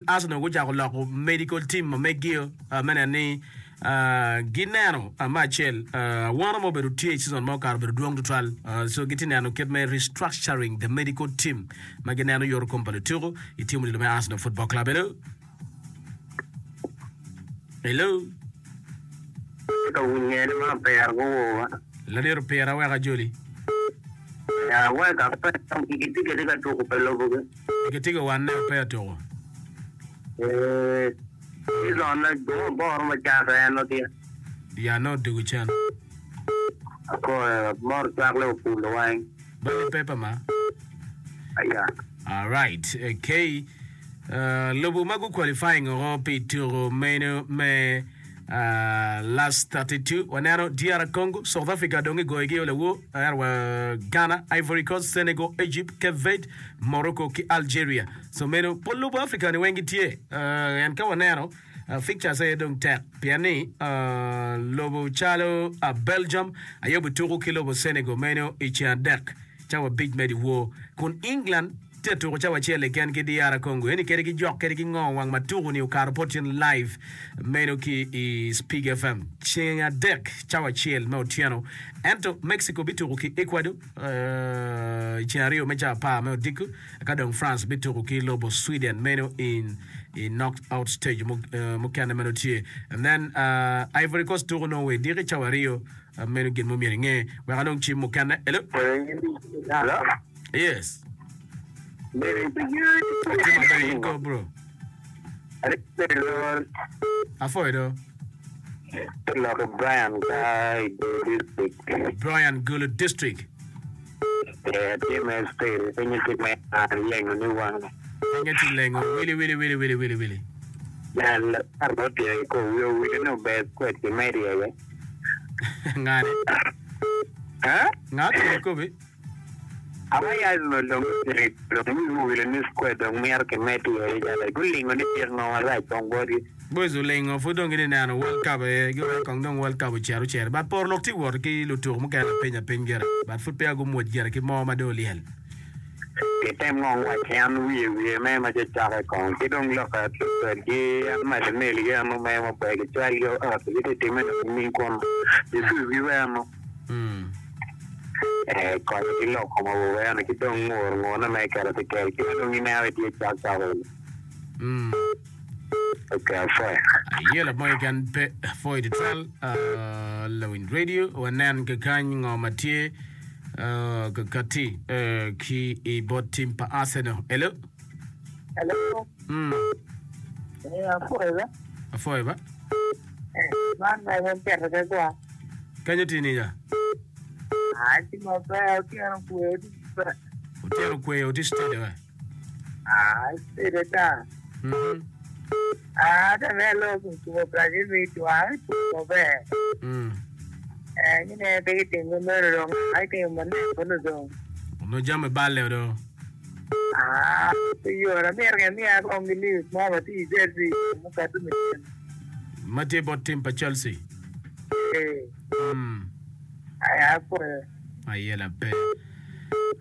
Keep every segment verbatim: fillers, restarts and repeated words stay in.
Arsenal gucako loko medical team ma megio me neno ni gineno me acel awano ma obedo tye i season ma okato obedo dwong tutwal so gitye neno kit me restructuring the medical team ma gineno yoto kom pa lutuku i team odilo me Arsenal Football Club. Hello. Hello. Ka winye ni ma pera guwowa. Ladit opira wek ajoli. Ya wek ape gitye kwede ka tuko pa lobogi. Gitye ka wanne pe atuko. Ee, season na dong aboro macake en nongo tye. Ya nongo odwogo cen. Akoyo moro cwak Liverpool weng. Bali paper ma. Aya. Alright, okay. Uh, lobo ma gu qualifying oko pi tuko meno me uh, last thirty-two waneno D R Congo, South Africa dong gigoyogi o lawo, ento wa Ghana, Ivory Coast, Senegal, Egypt, Cape Verde, Morocco ki Algeria. So meno pol lobo Africa ni weng gitye. Uh, en ka waneno uh, fixtures aye dong tek pien ni uh, lobo calo uh, Belgium aye obituko ki lobo Senegal meno i ceng adek cawa abic me dyewor, kun England tye tuko cawa acel keken ki D R Congo. Eni kede ki jok kede ki ngo wang ma tuko ni okato pot in live meno ki i Spig F M ceng adek cawa acel me otyeno. Ento Mexico bituko ki Ecuador uh, ceng aryo me cawa apar me odiko, ka dong France bituko ki lobo Sweden meno in i knock out stage mukene meno tye. And then uh, Ivory Coast tuko Norway diki cawa aryo. uh, meno gin mo myero inge wek anong cim mukene. Hello. Hello. Yes. Atye maber, in ko bro? Afoyo do. Loko Brian ka i Gulu district. Brian, Gulu district. Eh, atye me state pinye tye me lengo ni wang. Pinye tye lengo wili wili wili wili wili wili. Jal kar otye ko wiyo wili no ber kwed ki medi aye. Ngane. Ha? Nga tye kobi? Awa ya no dong dong wiyo wili ni square dong miro ki medi aye jal gulingo ni tir ngo marach kong botgi. Boys olingo pud dong gitye neno World Cup aye giweko kong dong World Cup ocito ocito. But por lok tye wot ki lutuko mukene apiny apiny gire. But pud peya gumwoc gire ki mo ma dong olyel. Kitem ngong wac en wiye wiye me ma cacake kong ki dong loka kwedgi en Martinelli gi eno me maber gicwalgi ot gitye time dong ning kun Jesus giweno. Mm. Eh, konyo ki lok kom awobe eno ki dong ngur ngurne me keto ki kel ki dong ineno itye cok cok Mm. Okay, afoyo. Ayela mo keken pe afoyo tutwal uh, Lawiny Radio wanen kakany ngo ma tye uh, kakati uh, ki i bot team pa Arsenal. Hello. Hello. Mm. Eh, afoyo ba? Afoyo ba? Eh, man ma keto ke kwa. Kanyo tye niya? Ah, ti maber, otyeno kwe, oti maber. Otyeno kwe oti steady wa. Ah, steady ta. Mhm. Ah, ta me lo kumo Brazil mi twa, maber. Mm. Eh, ngine pe kitingo mero dong, ai timo manek kono dong. No jame balle do. Ah, pe yora mier ke miya kong gi news mo ma ti Chelsea mo kato mi. Ma tye bot team pa Chelsea. Eh, Mm. ai afoyo. Ayela pe.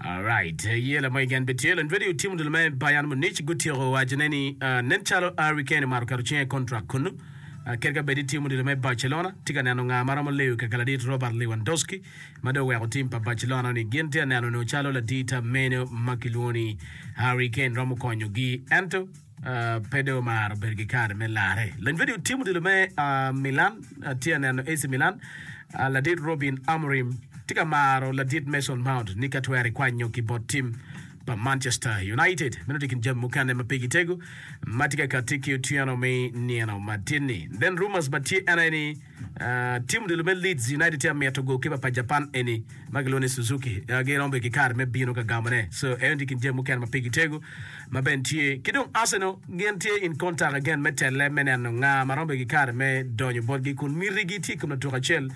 Alright, yela mo igen pe tye. Lony radio team dul me Bayern Munich gutyeko wacone ni uh, nen calo Harry Kane omaro keto cinge i contract kunu. Uh, kadi ka bed ni team dul me Barcelona tye ka neno nga ma romo leyo kaka ladit Robert Lewandowski ma dong oweko team pa Barcelona ni gin tye ka neno onongo calo ladit meno ma kilwongo ni Harry Kane romo konyogi ento uh, pe dong omaro bedo ki kare me lare. Lony radio team dul me uh, Milan uh, tye ka neno A C Milan uh, ladit Robin Amorim tye ka maro ladit Mason Mount ni ka twero ikwanyo ki bot team pa Manchester United. Meno tye kin jami mukene ma pigi tego ma tye ka kati ki otyeno me nino matin-ni. Then rumors ma tye en aye ni uh, team dul me Leeds United tye ka mito goalkeeper pa Japan eni ma kilwongo ni Suzuki. uh, giromo bedo ki kare me bino ka gamone. So eno tye kin jami mukene ma pigi tego ma ben tye. Ki dong Arsenal gin tye in contact again me tele me neno nga ma romo bedo ki kare me donyo botgi kun mitigi tye i kom latuk acel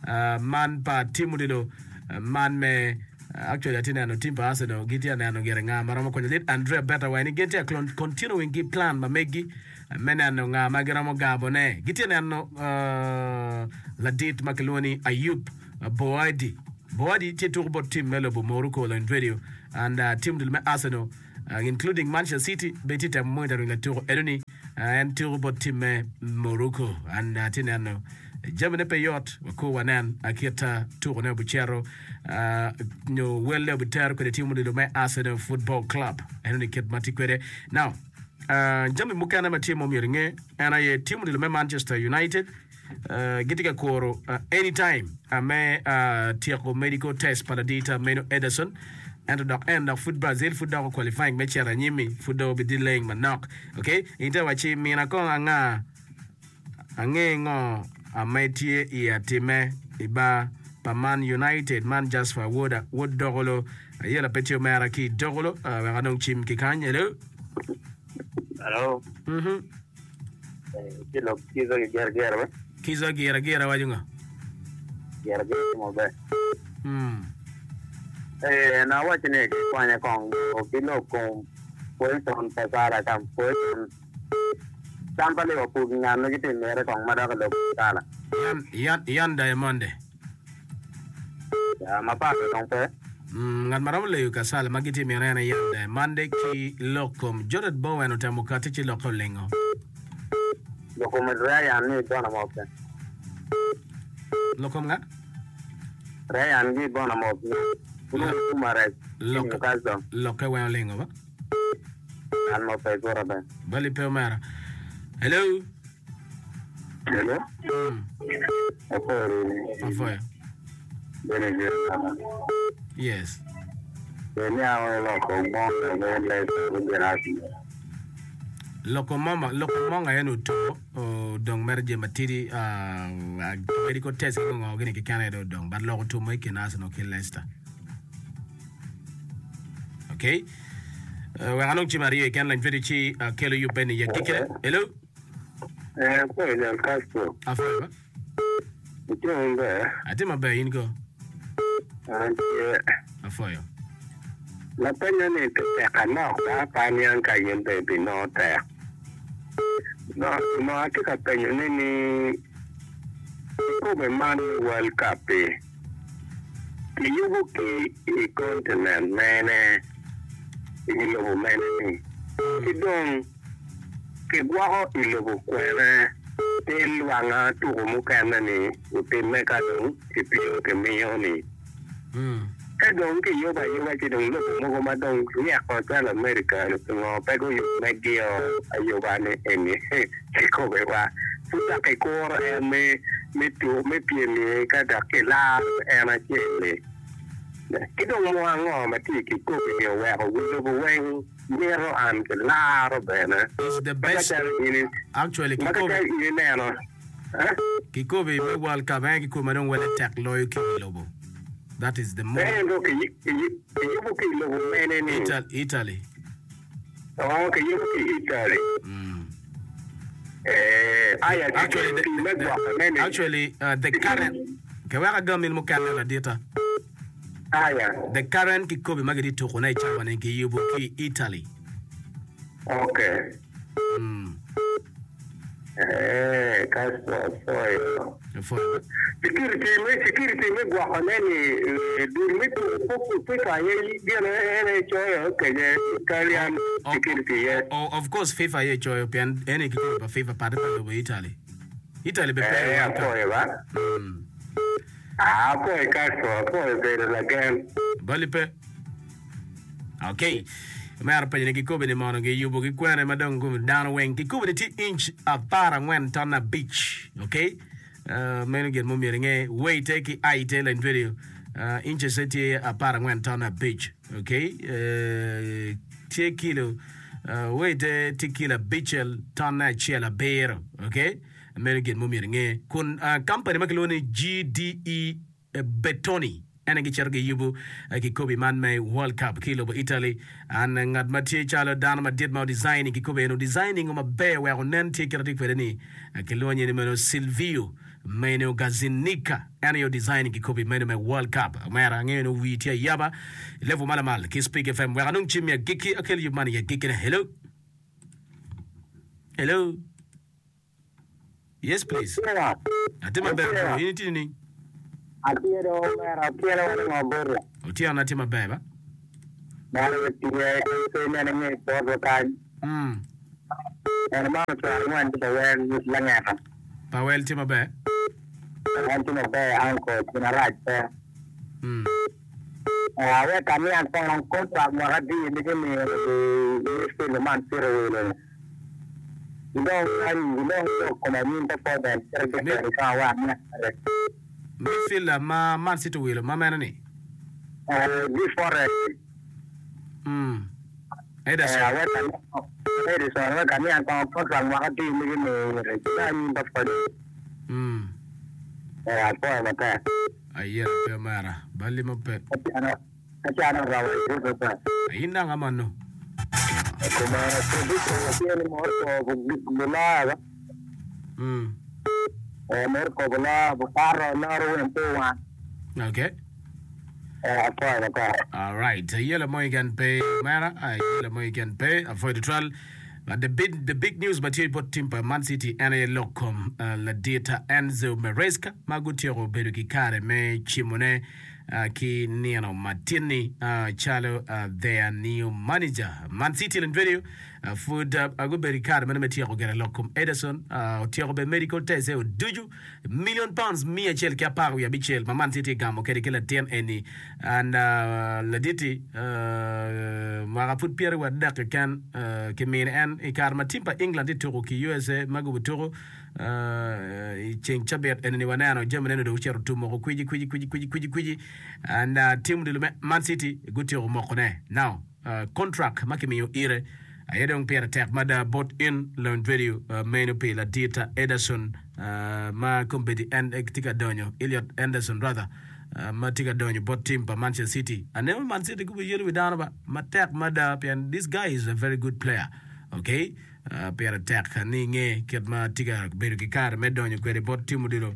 uh, man pa team odilo uh, man me actually atye neno team pa Arsenal gitye ka neno gire nga ma romo konyo lit Andrea Berta wa ni gin tye ka continuing ki plan ma meggi me neno nga ma giromo gabone. Gitye neno uh, ladit ma kilwongo ni Ayub Boadi. Boadi tye tuko bot team me lobo Morocco Lony Radio and uh, team dul me Arsenal Including Manchester City bene tye temo monitoring latuko enoni. En tuko bot tim me Morocco and atye neno jamine pe yot wakur wanen kit tukone obicito nyo welle obitero kwede tim odilo me Arsenal Football Club enoni kit ma tye kwede. Now jami mukene ma tye ma omyero inge en aye tim odilo me Manchester United Gitye ka kuro anytime me tyeko medical test pa ladita meno Ederson. Ento dok en dok pud Brazil pud dok o qualifying me cito anyim-mi pud dong obidelaying manok. Ok, in te wacci mina kong anga ange ngo ame tye i atime i bar pa Man United man Jasper woda wod Dokolo ayela pe tye omera ki i Dokolo wek anong cim ki kany. Hello. Hello. Mhm. Ci lok kica ki gira gira be. Kica gira gira waco ngo? Gira gira timo ber. Mm. Eh, na waco ni ki kwanya kong ki lok kom position pa Salah kam position tam pa Liverpool ki ngat ma gitye mite kong ma dok i lok kom Salah. Yan, yan, yan Diamonde. Ya, mapat dong pe. Mm, ngat ma romo leyo ka Salah ma gitye mine en aye Yan Diamonde ki lok kom Jarrod Bowen otemo kati ci lokke olingo. Lok kom Ryan ni Bournemouth pe. Lok kom nga? Ryan gi Bournemouth ni Bruno Guimaraes ki Lokke, Newcastle. lokke weng olingo ba? An mo pe gura be. Bali pe omera. Hello. Hello. Mm. Apwoyo rini. Apwoyo. Bene gire kama. Yes. Be niango ni loko monga me Leicester gubino Arsenal. Loko moma, loko monga en oto odong mere jami matidi uh, medical test ki ngo gini keken aye dong odong but loko tumo i kin Arsenal ki Leicester. Okay. Uh, wek anong cim aryo keken lany video ci akelo yubbe ni yagikine. Hello. Eh, apwoyo jal Castro. Apwoyo ba. Itye maber? Atye maber, in ko? An tye. Apwoyo. Lapenyo ni pi tek anok ba pe aniang ka in bene ibinongo tek. Onongo atye ka penyo ne ni kikobe man me World Cup-pi kiyubo ki i continent mene, i lobo mene ni? Ki dong Kigwoko i lobo kwene pi lwanga tuko mukene-ni otimme ka dong kipimo kimiyo-ni. Ka dong kiyubo ayuba ci dong lobo mogo ma dong ryeko calo America-ni pingo pe guyub megio ayuba-ni eni kikobewa? Pud dok kikuro en me me pyem-mi ka dok kilaro en acel-li. Ki dong mo ango ma tye i kikobi-ni oweko wi lobo weng Mito an ki laro bene. Is the Ma ka best calo in actually ma ka kikobi calo in ineno eh? kikobi me world cup en kikobi ma dong wele tek loyo ki i lobo that is the most Ento ki kiyubo ki i lobo mene ni? Italy Italy Oh, kiyubo ki Italy. mm. Eh, aya Actually kiketo the, pi me the, gwoko ne ni. actually uh, the current ke wek agam in mukene ladita. Aya. The current kikobi ma gitye tukone i cawa ni kiyubo ki i Italy. Okay. Mm. Eh, Castro apwoyo. Apwoyo ba. Security me security me gwoko ne ni eh, dul me tuko FIFA aye gin en aye coyo kenye Italian Oh, oh, security iye. oh, of course FIFA aye coyo pien eni kikobi pa FIFA pate pa lobo Italy. Italy be pe i Eh, World Cup. apwoyo ba. Mm. Aa, apwoyo Castro, apwoyo bedo lagen. Bali pe. Ok. Omera penyo ni kikobi ni mono giyubo ki kwene ma dong gum dano weng. Kikobi ni tye inch apar angwen ton abic. Ok. Uh, meno gin mo myero inge. Weight ki height lany video. Uh, inches tye apar angwen ton abic. Ok. Uh, tye kilo uh, weight tye kilo abicel ton acel abiro. Ok. Meno gin ma omyero inge. Kun kampani ma kilwongo ni G D E Bertoni en aye gicito giyubo kikobi man me World Cup ki i lobo Italy. An ngat ma tye calo dano madit ma odesigning kikobi eno, odesigning-o maber wek onen tye kit atye kwede ni kilwongo nyinge ni meno Silvio Meno Gazinica en aye odesigning kikobi meno me World Cup. Omera angeyo ni wii tye ayaba i level ma lamal ki Speak F M wek anong cim i agikki akel yub man i agikkine. Hello. Hello. Yes please. Otyeno. Atye maber Otyeno. bro, in itye nining? Atye do omera, otyeno wani ngo boti? Otyeno atye maber ba. Dano tye pe nene nge poto kany. Mm. En ma ocwalo ngwen ki Pawel langeta. Pawel tye maber. En tye maber anko gin arac pe. Mm. Awek amiya kong contract mwaka adi ma kimiyo ki midfield man City owilo. Gidong kany gidong lok kom anyim performance kit Mi- ki ka wa amiya kare. Midfielder ma Man City owilo ma mene ni? Eh, G Forest. Mm. Ederson. Awek amiya Ederson awek amiya kong contract mwaka adi ma kimiyo ki anyim performance. Mm. Eh, apwoyo matek. Ayera pe omera. Balli mo pe. Acano acano rawa i pe. In nanga mano. Kuma prediction tye ni Morocco buloyo Mm. eh Morocco buloyo bukato loro wen two one. Okay. Eh, apwoyo matek. All right. Yellow mo can pay mera. Yellow mo can pay avoid the trial. But the big the big news ma tye bot team pa Man City en aye lok kom uh, ladit Enzo Maresca ma gutyeko bedo ki kare me cimone uh, ki nino matin-ni uh, calo uh, their new manager. Man City lony radio uh, pud uh, gubedo ki kare meno me tyeko gere lok kom Ederson uh, otyeko be medical test e oducu million pounds mia acel ki apar wiye abicel ma Man City gamo kede ki latin eni and uh, laditi uh, mwaka pud pyeri wa adek keken uh, kimine en i kare ma team pa England tye tuko ki U S A ma gubo tuko uh, i ceng cabit eni ni waneno jami neno dong ocito tum moko kwiji kwiji kwiji kwiji kwiji kwiji and uh, team odilo me Man City gutyeko mokone now uh, contract ma kimiyo ire aye dong pire tek mada bot in lony radio uh, meno pi ladit Ederson uh, ma kombeddi en tye ka donyo Elliot Anderson rather uh, ma tye ka donyo bot team pa Manchester City. Aneno Man City gubo yelo wi dano ba matek mada pien this guy is a very good player. Okay, uh, pire tek ni nge kit ma tye ka bedo ki kare me donyo kwede bot team odilo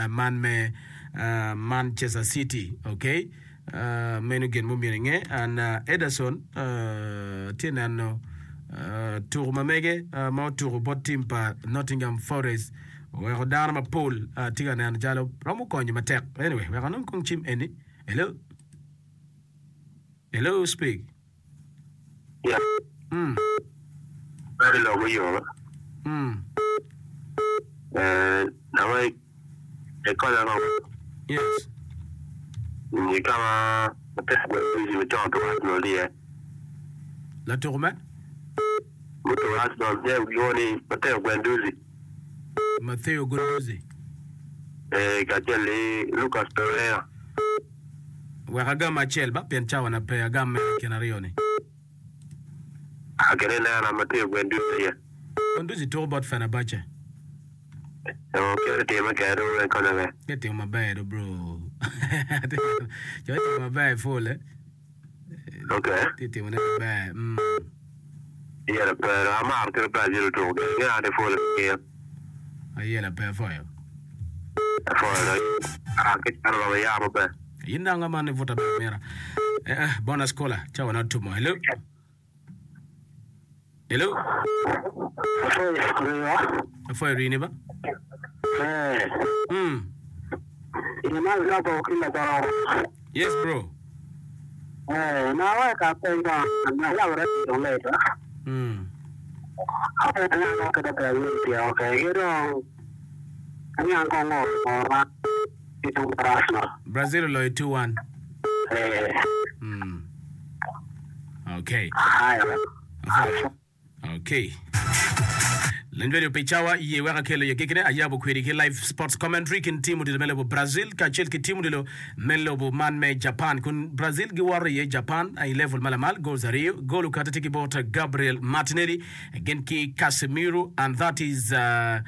uh, man me uh, Manchester City. Okay, uh, meno gin mumyero inge and uh, Ederson uh, tye neno uh, tuko ma mege uh, ma otuko bot team pa Nottingham Forest oweko dano mapol uh, tye ka neno calo romo konyo matek. Anyway, wek anong kong cim eni. Hello, hello, speak. Yeah. mm. Very low yo. Mm. Eh, nawe ekola no. Yes. Ni kama matek gwe bizi mchon to Arsenal die. Latuko me Muto Arsenal je goni Matteo Guendouzi. Matteo Guendouzi. Eh, kachel Lucas Pereira. Wek agam acel ba pien cawa na pe agam me kin aryo ni. Akere na Matteo Guendouzi ye. Guendouzi tuko bot Fenerbahce. O kere tema kero ekola me. Ke timo maber do bro. Jo timo maber full eh. Okay. Ti timo ne maber. Mm. Yera pero amar kere Brazil to. Ngi ade full ke. Ayela pe foyo. Full. Ah, ke chano ba ya ba. Yin nanga man vuta be mera. Eh, eh bonus caller. Cawa na tumo. Hello. Hello. Foyo rini ba? Eh, Mm. ina loko kila toro. Yes bro. Eh, na wa ka penga na la ora to le to. Mm. Ane na ka da ka yu ti okay. Ero ani an ko ngo ma ti tu prasno. Brazil loyo two one. Eh, Mm. Okay. haya. Okay. Leny radio pi cawa ye wek akelo ye kikine ayabo kwedi ki live sports commentary kin team odilo me lobo Brazil kacel ki team odilo me lobo man me Japan kun Brazil giworo ye Japan i level malamal goals aryo goal okate tye ki bot Gabriel Martinelli gin ki Casemiro, and that is uh,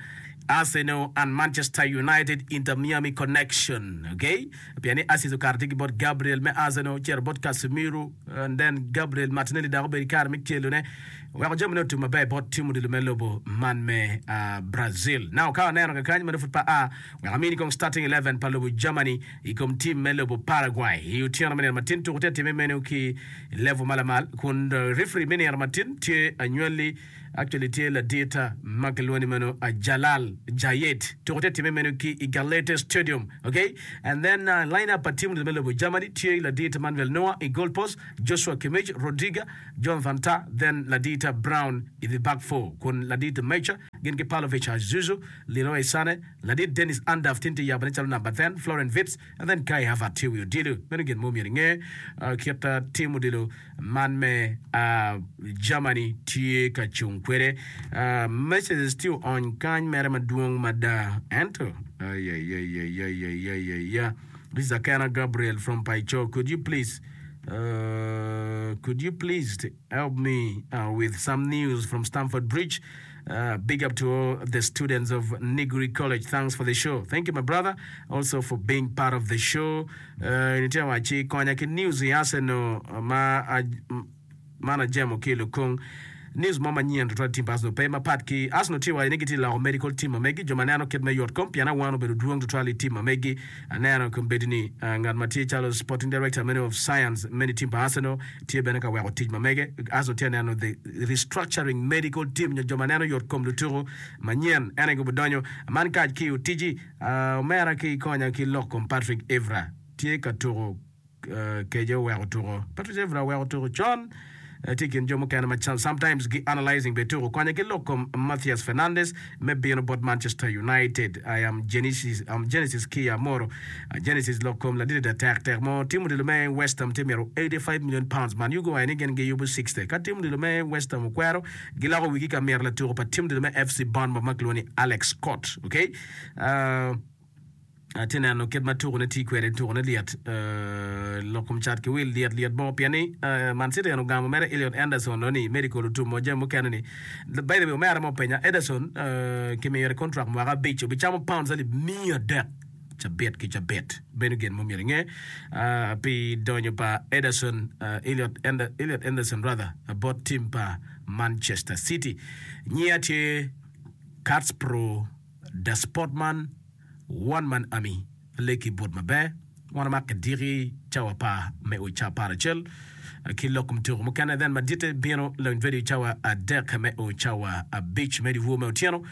Arsenal and Manchester United Inter Miami connection. Okay? Pien ni assist okar tye ki bot Gabriel me Arsenal, cero bot Casemiro, and then Gabriel Martinelli dok obedo i kare me celone. Weko jami ne otum maber bot team odilo me lobo man me uh, Brazil. Now ka waneno kakany mano pud pa a wek amini kong starting eleven pa lobo Germany i kom team me lobo Paraguay. I otyeno me nino matin tuko tye time meno ki level malamal kun uh, referee me nino matin tye anywali Actually tye ladit ma kilwongo ni meno Jalal Jayed. Tuko tye time meno ki i Galete Stadium. Okay? And then uh, line up pa team me lobo Germany tye ladit Manuel Neuer i goal post, Joshua Kimmich, Rudiger, Jonathan Tah, then ladit Brown i the back four. Kun ladit Mecha gin ki Pavlovic Azuzu, Leroy Sane, ladit Dennis Undav tinti yabane calo number ten, Florian Wirtz, and then Kai Havertz tye wi odilo. Meno gin mo myero inge uh, kit uh, team odilo man me uh, Germany tye ka cung kwede. Uh, messages tye oony kany mere madwong mada. Ento, ay, ay, ay, ay, ay, ay, ay, ay, ay. This is Akena Gabriel from Paicho. Could you please, uh, could you please help me uh, with some news from Stamford Bridge? Uh, big up to all the students of Nigri College. Thanks for the show. Thank you, my brother, also for being part of the show. Uh, nitie waci konya ki news i Arsenal ma man ajemo ki lukung news mo manyien tutwal team pa Arsenal pe mapat ki Arsenal tye waco ni gitye loko medical team ma megi jo ma neno kit me yot kom pien awan obedo dwong tutwal i team ma megi aneno kombeddi ni uh, ngat ma tye calo sporting director meno of science meni team pa Arsenal tye bene ka weko tic ma mege Arsenal tye neno the restructuring medical team nyo jo ma neno yot kom lutuku manyien en aye gubidonyo man kac ki otiji uh, omera ki konya ki lok kom Patrick Evra tye ka tuko uh, keje oweko tuko Patrick Evra oweko tuko con eh, tye i kin jo mukene ma sometimes gi analyzing be tuko konya ki lok kom Matthias Fernandes me bino bot Manchester United. I am Genesis, um, Genesis Kia Moro. Uh, Genesis lok kom ladit da tek tek mo team odilo me West Ham tye myero eighty-five million pounds man yugo waye ni gin giyubo sixty ka team odilo me West Ham okwero giloko wigi ka myero latuko pa team odilo me F C Bournemouth ma kilwongo ni Alex Scott. Okay? Uh, atye neno kit ma tukone tye kwede tukone lyet uh, lok kom cat ki wil lyet lyet mo pien ni uh, Man City en ogamo mere Elliot Anderson no ni medical otumo jami mukene ni by the way omera mo penya Ederson uh, kimiyore contract mwaka abic obicamo pounds alip miya adek cabit ki cabit bedo gin mo myero inge uh, pi donyo pa Ederson uh, Elliot, Ender, Elliot Anderson rather uh, bot team pa Manchester City nyia tye Cats Pro the Sportman One Man Army leki bot maber wan mak diki cawa pa me o ca par acel ki lok mtuko mukene then madite bino lony radio cawa adek me o cawa abic me diwor me otyeno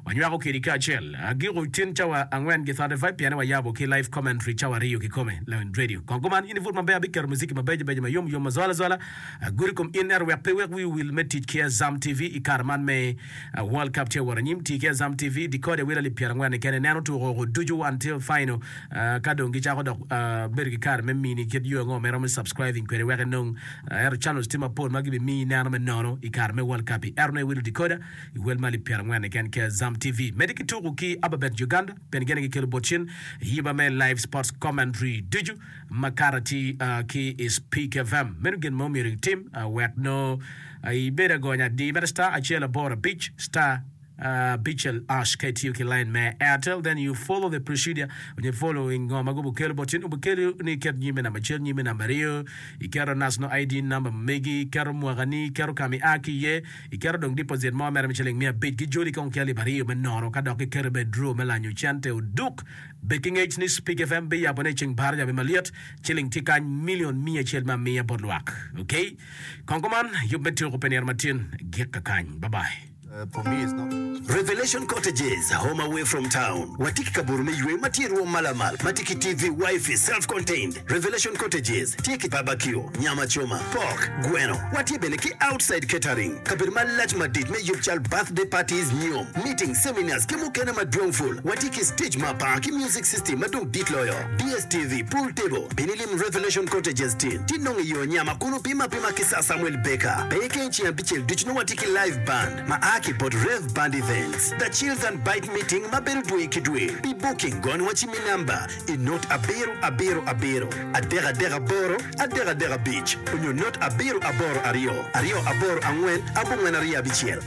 wanywako kedi kacel agiko tin cawa angwen gi thirty-five piene wayabo ki live commentary cawa ariyo kikome lony radio kongo man in ivut maber abikero muziki mabeco beco mayom yom mazwala zwala aguri kom in ero wek pe wek wi wil me tic ki Azam T V i kare man me uh, World Cup tye wot anyim ti ki Azam T V decode wil alip pyera angwen kene neno tuko ducu until final uh, ka dong gicako dok uh, bedo ki kare me mini kit yo ango me romo subscribing kwede wek inong uh, ero channels tye mapol ma gibimiyi neno me nono i kare me World Cup i ero ne wilo decoder i wel ma alip pyera angwen keken ki Azam T V medi ki tuko ki Ababet Uganda pien gene gikelo bot cin yiba me live sports commentary ducu ma kara ti uh, ki i Speak F M meno gin mo myero itim uh, wek no uh, ibed agonya di mere star achiel aboro abic star Uh, Bichel Ash K T U K line me Airtel, then you follow the procedure. When you follow in ngoma go bukelo botin ubukelo ni ket nyime namba chiel nyime namba ariyo ikero national I D number megi ikero mwakani ikero kami aki ye ikero dong deposit mo mere micheling mia abic gi joli kong ki alip ariyo me nono ka dok ikero be draw me lanyo cente oduk be ki ngec ni Speak F M be yabo ne ceng bar jabe maliet chiling tye kany million mia achiel ma miya bot lwak. Okay? Kongo man yub me tuko pe nino matin gik ka kany. Bye bye. Uh, for me, it's not. Revelation Cottages, home away from town. Watiki kaburu me ywe matie ruom malamal. Matiki T V, wifi, self-contained. Revelation Cottages, tiki barbecue, nyama choma, pork, gweno. Watie bene ki outside catering. Kabir malach madit me yub chal birthday parties, nyom, meetings, seminars, ki mukene madwong full. Watiki stage mapa, ki music system madong dit loyo. D S T V, pool table. Binilim Revelation Cottages tin. Tinong iyo nyama kunu pima pima kisa Samuel Baker. Peke nchi ya bichel duchno watiki live band. Ma aki bot Rev Band Events. The Chills and Bite Meeting maberu dwe kidwe. Be booking gone wachi mi number in not abero abero abero. Adera dera boro, adera dera beach. Unyo not abero aboro ario. Ario aboro angwen, abungwen aria bichiel.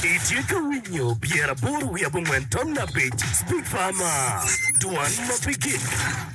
Itye ka winyo pyera aboro wiye abongwen ton abic. Speak Farmer. Dwan ma pe gik.